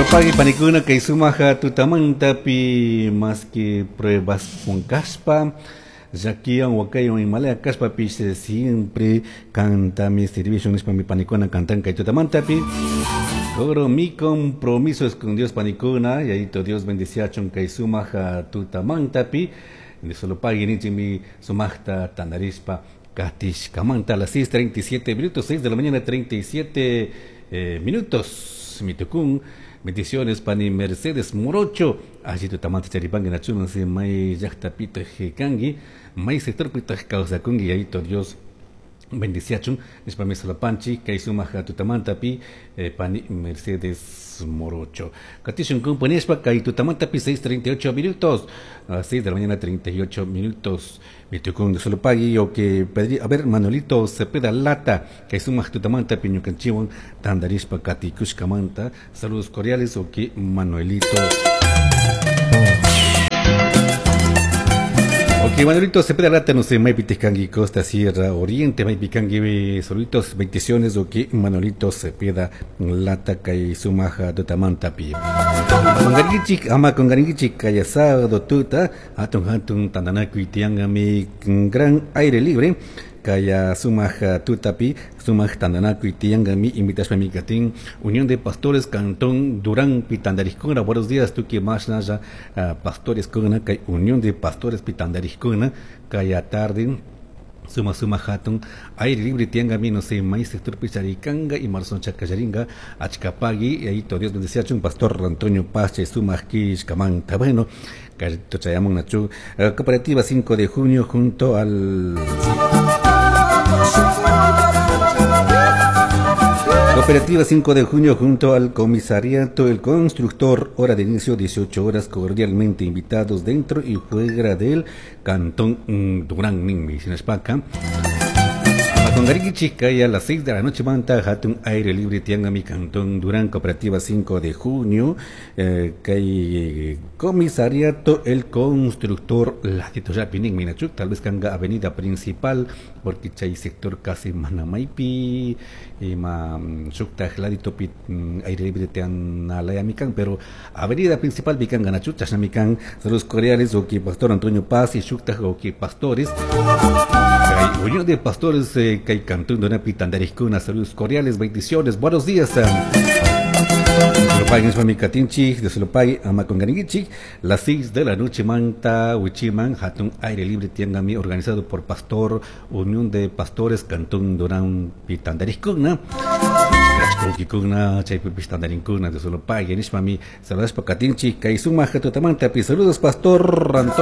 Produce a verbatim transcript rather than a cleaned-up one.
Pagui panikuna kay sumaja tutamantapi más que pruebas con caspa llakiwan wakaywan imalaya kashpapish siempre canta mi servicio nishpa mi panikuna cantan kay tutamantapi. Coro mi compromiso es con Dios panikuna y ahí Dios bendiciachun kay sumaja tutamantapi de solo pagui ninchik mi sumajta tandarishpa katishkamanta a las seis treinta y siete minutos, seis de la mañana treinta y siete eh, minutos. Mitukun bendiciones pani Mercedes Morocho allí tutamanta charipangi nachuna si may llaqta pitaq kanki may sector pitaq kawsakunki y ahí Dios bendiciachun nishpa mi solapanchi kay sumaq tutamantapi eh, pani Mercedes Morocho katishun kumpa kay tutamantapi seis treinta y ocho minutos a seis de la mañana treinta y ocho minutos mitukun de solopagui o que pedí a ver Manuelito Cepeda Lata kay sumaq tutamantapi ñukanchiwan tandarishpa katikushkamanta saludos cordiales o que Manuelito. Ok, Manuelito Cepeda Lata, no sé, Maypiticangi, Costa Sierra Oriente, Maypicangi, saluditos, bendiciones, ok, Manuelito Cepeda Lata, kay sumaja tutamantapi. Congaringichik, ama congaringichik, kaya sábado tuta, atun hatun tandanakuy tiangami, gran aire libre, kaya sumaj tutapi, sumaj tandanakuy tiangami, invitashpa mi katin, Unión de Pastores Cantón Durán Pitandarijkuna, buenos días, tuki mashnaya, uh, pastores kuna, kay Unión de Pastores Pitandarijkuna, kaya tarde, suma suma hatun, aire libre tiangami, no sé, maíz sector picharicanga y marzón chacayaringa, achcapagui, y ahí todo Dios bendecía un pastor Antonio Pache, sumaj kishkamanta, bueno, carito chayamon nachu, cooperativa cinco de junio junto al Cooperativa cinco de junio junto al comisariato El Constructor, hora de inicio dieciocho horas, cordialmente invitados dentro y fuera del Cantón Durán, Ninmi, Sinaspaca. Congaringichik, a las seis de la noche manta hatun aire libre tiangami Cantón Durán, Cooperativa cinco de junio, eh, kay comisariato El Constructor, ladito yapinin minachuk, tal vez kanga avenida principal, porque chay sector casi manamaipi, y ma shuktaj ladito pi aire libre tianalayamikan, pero avenida principal bikanga nachuk, chashnamikan, saludos cordiales, oki pastor Antonio Paz y shuktaj oki pastores. Kay Unión de Pastores eh, kay Cantón Durán Pitandarijkuna, saludos cordiales, bendiciones, buenos días. De Solopay, Amacongaringichik, las seis de la noche manta, Huichiman, Hatun Aire Libre Tiangami, organizado por Pastor, Unión de Pastores, Cantón Durán Pitandarijkuna. Kikuna, Chaypipistandarinkuna, de Solopay, Nishmami, saludos Pacatinchi, Kaisuma, Jatotamanta, saludos Pastor Antonio.